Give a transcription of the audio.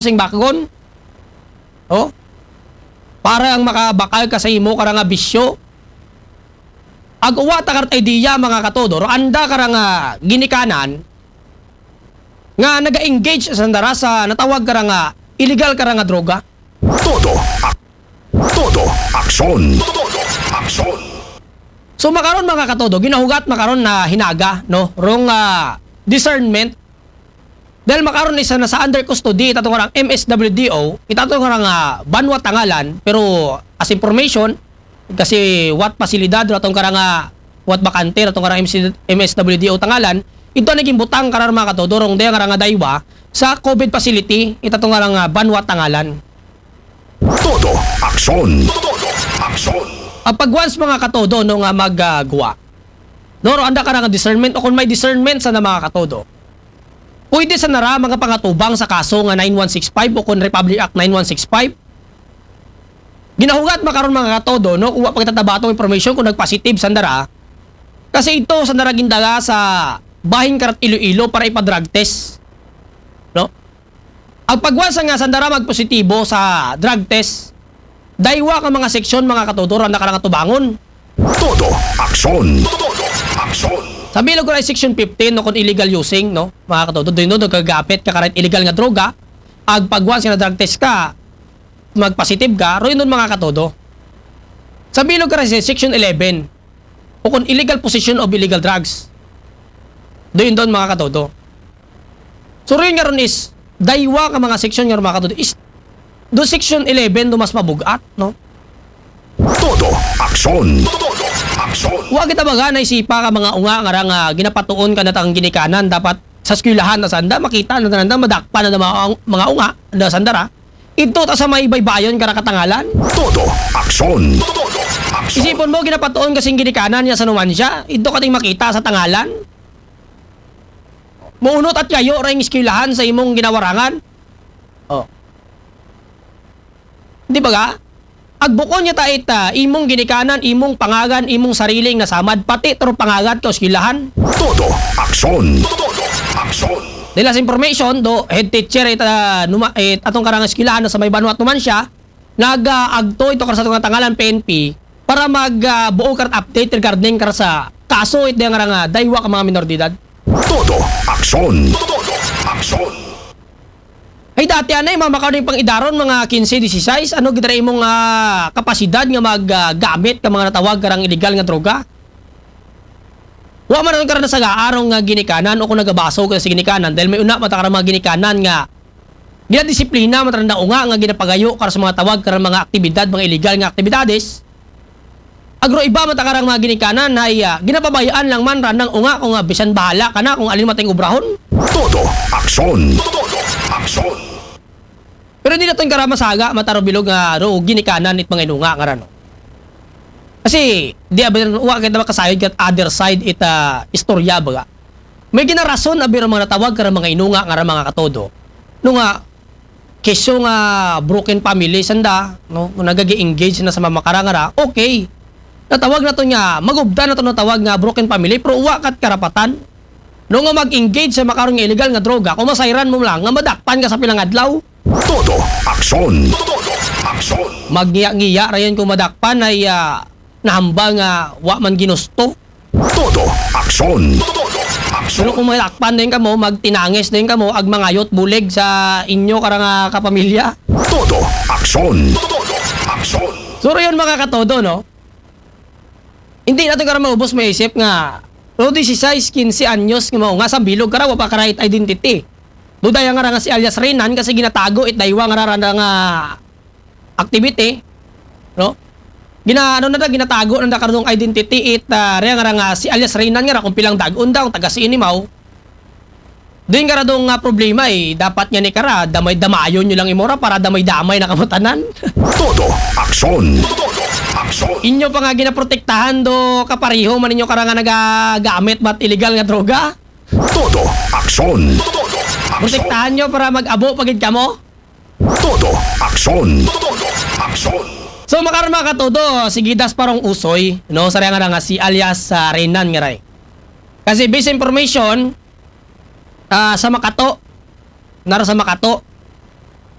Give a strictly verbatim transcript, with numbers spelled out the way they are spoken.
sing bakgon. Oh? Para ang makabakal ka sa imo kara nga bisyo. Ag uwa ta karat idea, mga katodo, ro anda kara nga ginikanan nga naga-engage sanda ra sa natawag kara nga illegal kara nga droga. Todo ak-, todo aksyon. Todo aksyon. So makaron, mga katodo, ginahugat makaron na hinaga, no? Rong ah, discernment. Dahil makaron is nasa under custody ita tong karang M S W D O, ita tong karang ah, banwa Tangalan, pero as information, kasi what pasilidad ra tong karang ah, what bakante ra tong karang M S W D O Tangalan, ito naging butang karar, mga katodo, rong dayang karang ah, daywa sa COVID facility, ita tong karang ah, banwa Tangalan. Todo aksyon. Todo aksyon. Pag once, mga katodo, no, nga magguwa, no, ro anda kara nga discernment, o kung may discernment sa na, mga katodo, pwede sa nara mga pangatubang sa kaso nga nine one six five o kung Republic Act nine one six five. Ginahugat makaron, mga katodo, no, kuha pagtataba tong information kung nagpositive sa nara. Kasi ito sa nara gindaga sa bahin karat Iloilo para ipa-drug test. No? Ang pagwansa nga sanda ra magpositibo sa drug test, daywa ka mga seksyon, mga katodo, ra na karang tubangon. Todo aksyon. Todo aksyon. Sa bilog ko na section fifteen, no, kung illegal using, no, mga katodo, doon doon nagkagapit ka karat illegal nga droga, ag pagwansa nga drug test ka, magpositive ka, ro yun doon, mga katodo. Sa bilog ka sa section eleven, o kung illegal possession of illegal drugs, doon doon, mga katodo. So rin nga ron is daywa ka mga section nga, mga katodo, is do section eleven do mas mabugat, no? Todo aksyon. Todo aksyon. Wa kita baga naisipa ka mga unga nga ra nga ginapatuon ka na tang ginikanan, dapat sa eskwelahan na sanda, makita na nanda, madakpan na mga, mga unga na sanda ra. Ito ta sa may baybayon kara ka Tangalan. Todo aksyon. Todo aksyon. Isipon mo, ginapatuon kasing ginikanan niya sa numansya, ito kating makita sa Tangalan. Maunot at yayo ra yung eskwelahan sa imong ginawarangan. Oh. Di ba ga? Agbukon niya ta ita, imong ginikanan, imong pangagan, imong sariling nasamad, pati tro pangagat ka eskwelahan. Todo aksyon. Todo aksyon. Dahil sa information, do head teacher ita, numa, it, atong karang eskwelahan na sa may banwa at numansya, nag-agto ito kar sa atong Tangalan P N P para mag ah, buo kar update regarding kar sa kaso ito nga rang ah, daywa ka mga minor de edad. Todo aksyon. Todo aksyon. Ay, dati anay, mga makaroon pang idaron, mga quince, dieciséis, ano gitara imong ah, kapasidad nga maggamit ka mga natawag karang illegal nga droga? Wa man ang karana sa gaarong nga ginikanan o kung nagabaso ka sa ginikanan, dahil may una mata karang mga ginikanan nga ginadisiplina man randa unga nga ginapagayo kar sa mga tawag karang mga aktibidad, mga illegal nga aktibidades. Agro iba mata karang mga ginikanan ay ah, ginapabayaan lang man randang unga kung nga bisan bahala ka na kung alin matay obrahon. Todo aksyon. Todo aksyon. Pero hindi natin karama saga, mataro bilog nga ro ginikanan it mga inunga nga rano. Kasi di abin wa kita makasayod kat other side ita istorya baga. May ginarason abi ra mga natawag kara mga inunga nga ra mga katodo. No nga kesyo nga broken family sanda, no, nagagi-engage na sa mamakara nga ra, okay. Natawag nato nga magubda nato natawag nga broken family, pero wa kat karapatan, no, nga mag-engage sa makaron nga illegal nga droga kung masayran mo lang nga madakpan ka sa pilang adlaw. Todo aksyon. Todo aksyon. Magniya-ngiya ra yan kung madakpan ay ah, nahambal nga wa man ginusto. Todo aksyon. Todo aksyon. Pero kung madakpan din kamo, magtinangis din kamo, ag mangayot bulig sa inyo karang ah, kapamilya. Todo aksyon. Todo aksyon. So yun, mga katodo, no? Hindi natin karang maubos maisip nga pero dieciséis, quince anyos nga mao nga sa bilog kara wa pa ka right identity. Duda yang nga ra nga si alias Renan kasi ginatago it daywa nga ra nga activity, no? Gina ano na da, ginatago na da karon identity it ah, rea nga ra nga si alias Renan nga ra kung pilang dagon daw taga Sinimaw. Doon ka ra doon nga problema eh, dapat nga ni kara damay damayon nyo lang imora para damay-damay na kamutanan. Todo aksyon. Todo aksyon. Inyo pa nga ginaprotektahan do kapariho man ninyo kara nga nagagamit bat illegal nga droga. Todo aksyon. Todo aksyon. Protektahan nyo para mag-abo pagid kamo. Todo aksyon. Todo aksyon. So makarma ka todo, sige das parong usoy, no? Sa nga nga si alias sa Renan nga ray. Kasi base information, ah, sa Makato, nara sa Makato,